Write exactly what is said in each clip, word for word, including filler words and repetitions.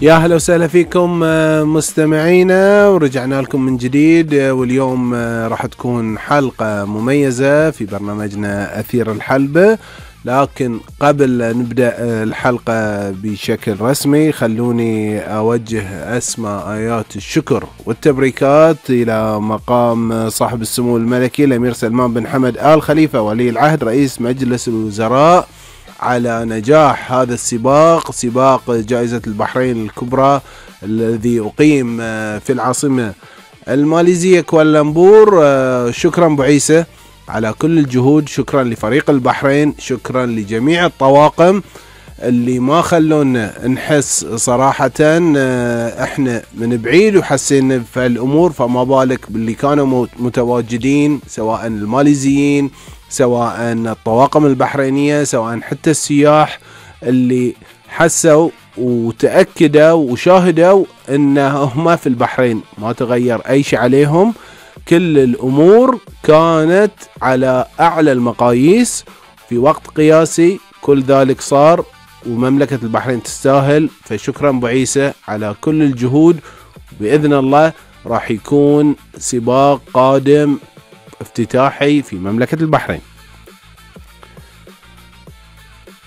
يا هلا وسهلا فيكم مستمعينا، ورجعنا لكم من جديد. واليوم راح تكون حلقة مميزة في برنامجنا أثير الحلبة. لكن قبل نبدأ الحلقة بشكل رسمي خلوني أوجه أسمى آيات الشكر والتبريكات إلى مقام صاحب السمو الملكي الأمير سلمان بن حمد آل خليفة ولي العهد رئيس مجلس الوزراء على نجاح هذا السباق، سباق جائزة البحرين الكبرى الذي أقيم في العاصمة الماليزية كوالالمبور. شكرا أبو عيسى على كل الجهود، شكرا لفريق البحرين، شكرا لجميع الطواقم اللي ما خلونا نحس صراحة احنا من بعيد وحسينا في الأمور، فما بالك باللي كانوا متواجدين سواء الماليزيين سواء الطواقم البحرينية سواء حتى السياح اللي حسوا وتأكدوا وشاهدوا انهم في البحرين ما تغير اي شيء عليهم. كل الامور كانت على اعلى المقاييس في وقت قياسي، كل ذلك صار ومملكة البحرين تستاهل. فشكرا ابو عيسى على كل الجهود، بإذن الله راح يكون سباق قادم افتتاحي في مملكة البحرين.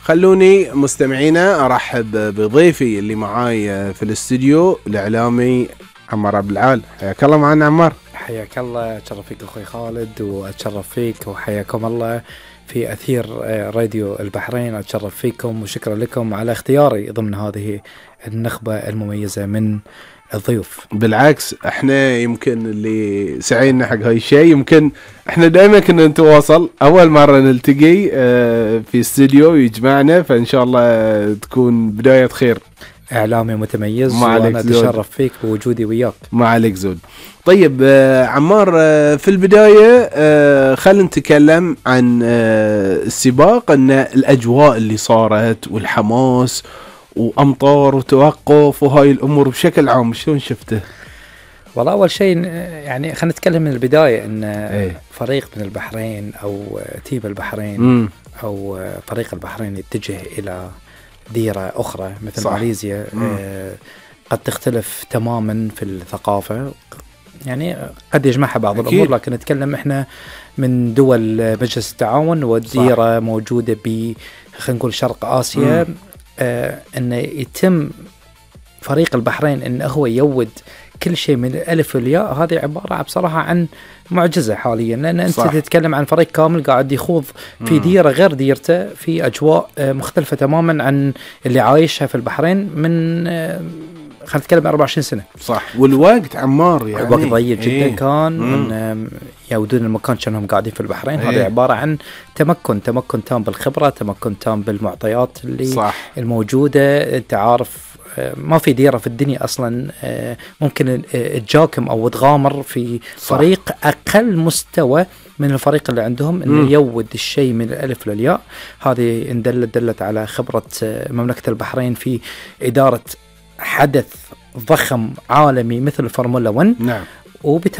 خلوني مستمعينا أرحب بضيفي اللي معاي في الاستوديو الإعلامي عمار عبد العال. حياك الله معنا عمار. حياك الله، أتشرف فيك أخوي خالد وأتشرف فيك، وحياكم الله في أثير راديو البحرين. أتشرف فيكم وشكرا لكم على اختياري ضمن هذه النخبة المميزة من الضيوف. بالعكس احنا يمكن اللي سعينا حق هاي الشيء، يمكن احنا دائما كنا نتواصل، اول مرة نلتقي اه في استوديو يجمعنا، فان شاء الله تكون بداية خير. اعلامي متميز وانا اتشرف فيك بوجودي وياك. ما عليك زود. طيب اه عمار، اه في البداية اه خلينا نتكلم عن اه السباق، ان الاجواء اللي صارت والحماس وأمطار وتوقف وهاي الأمور بشكل عام شلون شفته؟ والله أول شيء يعني خلينا نتكلم من البداية إن ايه؟ فريق من البحرين أو تيم البحرين م. أو فريق البحرين يتجه إلى ديرة أخرى مثل صح. ماليزيا آه قد تختلف تماما في الثقافة، يعني قد يجمعها بعض أكيد. الأمور، لكن نتكلم إحنا من دول مجلس التعاون والديرة صح. موجودة ب خلينا نقول شرق آسيا. م. آه أن يتم فريق البحرين أنه هو يود كل شيء من الألف والياء، هذه عبارة بصراحة عن معجزة حاليا، لأن أنت صح. تتكلم عن فريق كامل قاعد يخوض في مم. ديرة غير ديرته في أجواء آه مختلفة تماما عن اللي عايشها في البحرين من آه خلينا نتكلم أربعة وعشرين سنة. صح. والوقت عمار يعني الوقت ضيق جدا ايه. كان من يودون المكان كانهم قاعدين في البحرين. ايه. هذا عبارة عن تمكن تمكن تام بالخبرة، تمكن تام بالمعطيات اللي صح. الموجودة. انت عارف ما في ديرة في الدنيا أصلا ممكن تجاكم أو تغامر في فريق صح. أقل مستوى من الفريق اللي عندهم إنه م. يود الشيء من الألف للياء. هذه إن دلت دلت على خبرة مملكة البحرين في إدارة حدث ضخم عالمي مثل الفورمولا واحد. نعم.